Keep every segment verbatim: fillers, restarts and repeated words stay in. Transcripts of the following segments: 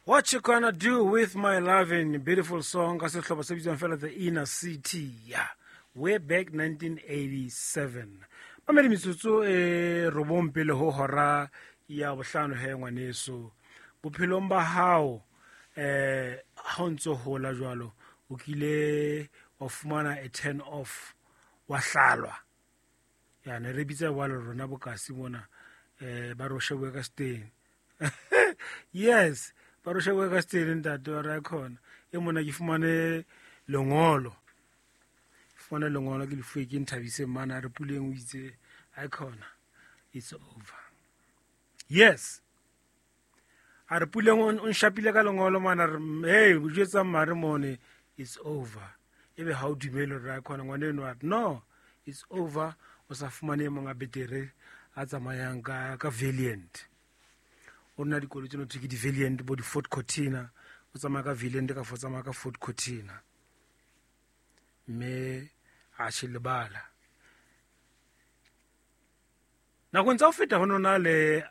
What You Gonna Do With My Lovin', beautiful song ka sehlopha se bitswang fela The Inner City. Yeah. Way back nineteen eighty-seven. Mamedi metsotso e robong pele ho hora ya bohlano he ngwaneso. Bophelong ba hao eh ha o ntso hola jwalo o kile wa fumana a turn off wa hlalwa. Ya ne re bitsa jwalo rona bokasi mona eh ba ro shebwe ka steng. Yes, ba ro shebwe ka steng ntate wa ra khona. E mona ke fumane lengolo. Fumane lengolo ke lefuwe ke Nthabise mana a re Puleng o itse ai khona it's over. Yes. A re Puleng o nshapile ka lengolo mana re hey o jwetsa mare mone it's over. Ebe ha o dumele re a khona ngwana eno a re no it's over o sa fumane monga betere a tsamayang ka ka Valiant. O nna dikoloi tseno thwe ke di Valiant bo di Ford Cortina o tsamaya ka Valiant ka fo tsamaya ka Ford Cortina. Mme a she lebala. Nakong tsa ho feta ho nona le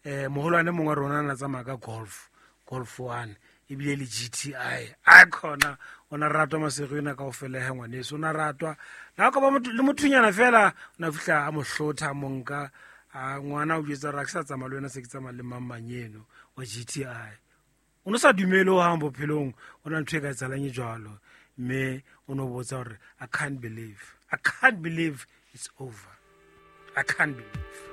eh moholwane mongwe rona na tsamaya ka Golf, Golf one ebile le G T I. A khona ona ratwa masego ena kaofela he ngwaneso ona ratwa. La ka ba motho le mothunyana fela ona fihla a mo hlotha monka a ngwana o jwetsa ra ke sa tsamaya le wena se ke tsamaya le mang mang eno wa G T I. O no sa dumele ho hang bophelong ona ntho e ka etsahalang e jwalo. Mme o no botsa hore I can't believe. I can't believe it's over. I can't believe.